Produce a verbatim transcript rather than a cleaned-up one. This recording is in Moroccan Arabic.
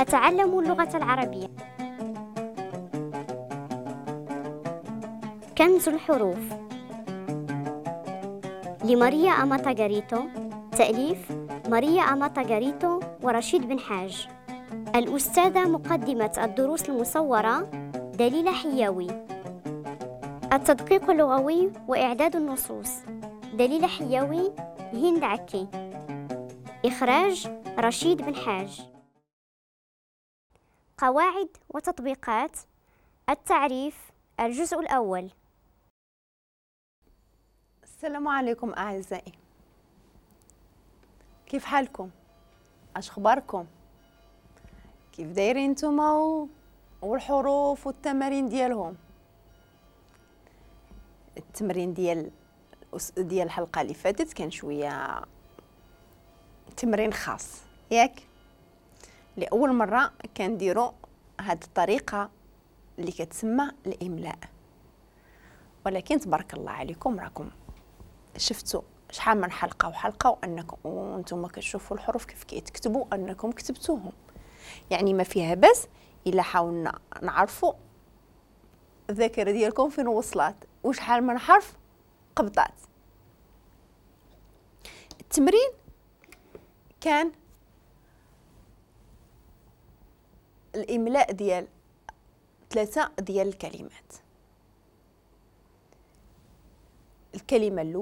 أتعلم اللغة العربية. كنز الحروف لماريا أماتاغاريتو، تأليف ماريا أماتاغاريتو ورشيد بن حاج. الأستاذة مقدمة الدروس المصورة دليلة حياوي. التدقيق اللغوي وإعداد النصوص دليلة حياوي، هند عكي. إخراج رشيد بن حاج. قواعد وتطبيقات التعريف، الجزء الأول. السلام عليكم أعزائي، كيف حالكم؟ اش اخباركم؟ كيف دايرين نتوما والحروف والتمارين ديالهم؟ التمرين ديال ديال الحلقة اللي فاتت كان شوية تمرين خاص، ياك؟ لاول مرة كنديروا هاد الطريقة اللي كتسمى الاملاء، ولكن تبارك الله عليكم راكم شفتوا شحال من حلقة وحلقه وانكم وانتم كتشوفوا الحروف كيف كيتكتبوا انكم كتبتوهم، يعني ما فيها بس الا حاولنا نعرفوا الذاكرة ديالكم فين وصلت وشحال من حرف قبطات. التمرين كان الاملاء ديال ثلاثة ديال الكلمات. الكلمة الاولى